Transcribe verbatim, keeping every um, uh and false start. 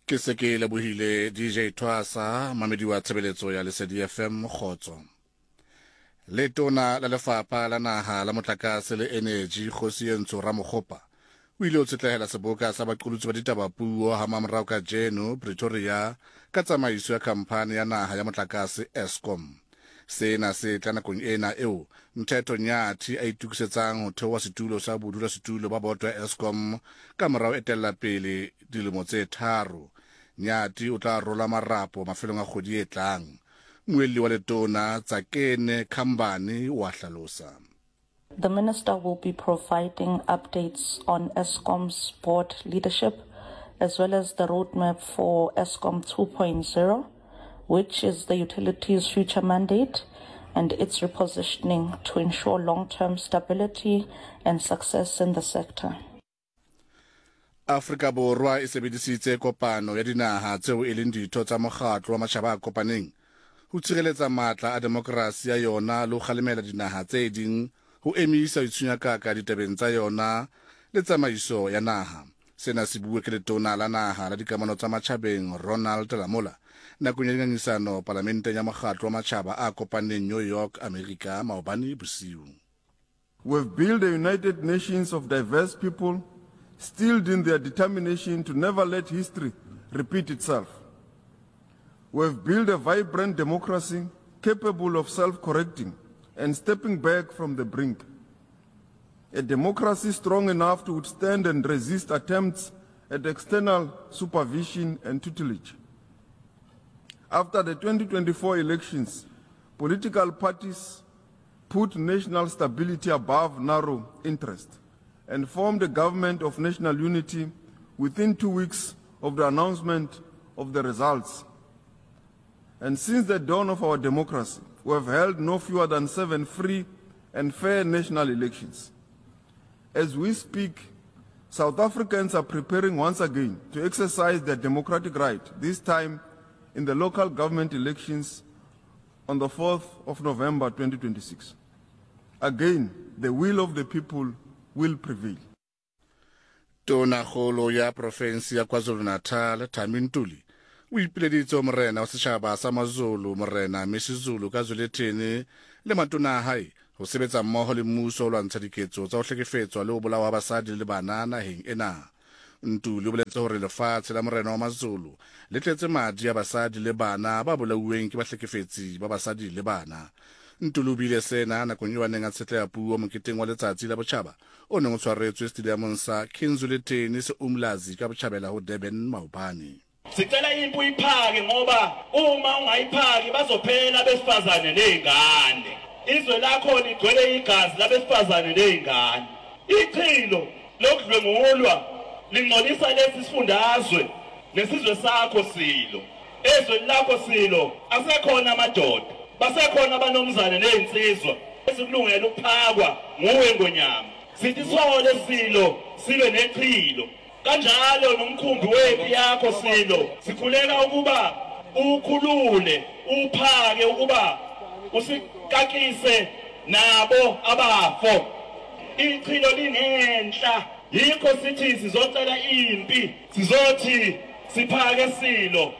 Ke se ke lebohile D J Twasa, mamedi wa tshebeletso ya Lesedi F M kgotso. Letona la lefapha la naha la motlakase le energy Kgosientsho Ramokgopa o ile o tshetlehela seboka sa baqolotsi ba ditaba puo ha mamorao kajeno Pretoria ka tsamaiso ya khamphani ya naha ya motlakase Eskom. Sena se tla nakong ena eo Mthetho Nyathi a itokisetsang ho theoha setulo sa bodulasetulo ba boto ya Eskom ka morao etella pele dilemo tse tharo. Nyathi o tla rola marapo mafelong a kgwedi e tlang. Muelli wa letona Tsakene Khambane wa hlalosa. The minister will be providing updates on Eskom's board leadership as well as the roadmap for Eskom two point oh, which is the utility's future mandate and its repositioning to ensure long-term stability and success in the sector. Afrika Borwa e sebedisitse kopano ya dinaha tseo e leng ditho tsa mokgatlo wa matjhaba a kopaneng ho tshireletsa matla a demokrasi ya yona le ho kgalemela dinaha tse ding ho emisa ho itshunyakaka ditabeng tsa yona le tsamaiso ya naha. Sena se bue ke letona la naha la dikamano tsa matjhabeng Ronald Lamola nakong ya dingangisano palamenteng ya mokgatlo wa matjhaba a kopaneng New York, Amerika maobane bosiu. We've built a United Nations of diverse people, steeled in their determination to never let history repeat itself. We've built a vibrant democracy capable of self-correcting and stepping back from the brink. A democracy strong enough to withstand and resist attempts at external supervision and tutelage. After the twenty twenty-four elections, political parties put national stability above narrow interest and formed a government of national unity within two weeks of the announcement of the results. And since the dawn of our democracy, we have held no fewer than seven free and fair national elections. As we speak, South Africans are preparing once again to exercise their democratic right, this time in the local government elections on the fourth of November twenty twenty-six. Again, the will of the people will prevail. Tonakgolo ya profensi ya KwaZulu-Natal, Thami Ntuli, o ipileditse morena wa setjhaba sa Mazulu, Morena Misuzulu kaZwelithini le matona a hae ho sebetsa mmoho le mmuso ho lwantsha diketso tsa ho hlekefetswa le ho bolawa ha basadi le bana naheng ena. Ntuli o boletse hore lefatshe la morena wa Mazulu le tletse madi a basadi le bana ba bolauweng ke bahlekefetsi ba basadi le bana. Ntuli o buile sena nakong eo a neng a tshetleha puo moketeng wa letsatsi la botjhaba o neng o tshwaretswe stadiumong sa King Zwelithini se Umlazi ka botjhabela ho Durban maobane. Sicela impi uyiphake ngoba uma ungayiphaki bazophela abesifazane nezingane. Izwe lakho ligcwele igazi labesifazane nezingane. Ichilo lokudlwengulwa lingcolisa lesi sifundazwe nesizwe sakho silo. Ezweni lakho silo asekhona amadoda, basekhona abanomzane nezinsizwa esikulungela ukuphakwa nguwe ngonyama. Sithi sole silo silwe nechilo. Kanjalo nomkhumbi wempi yakho silo sikhuleka ukuba ukhulule uphake ukuba usikakise nabo abafo. Ichilo linenhla, yikho sithi sizocela impi, sizothi siphake silo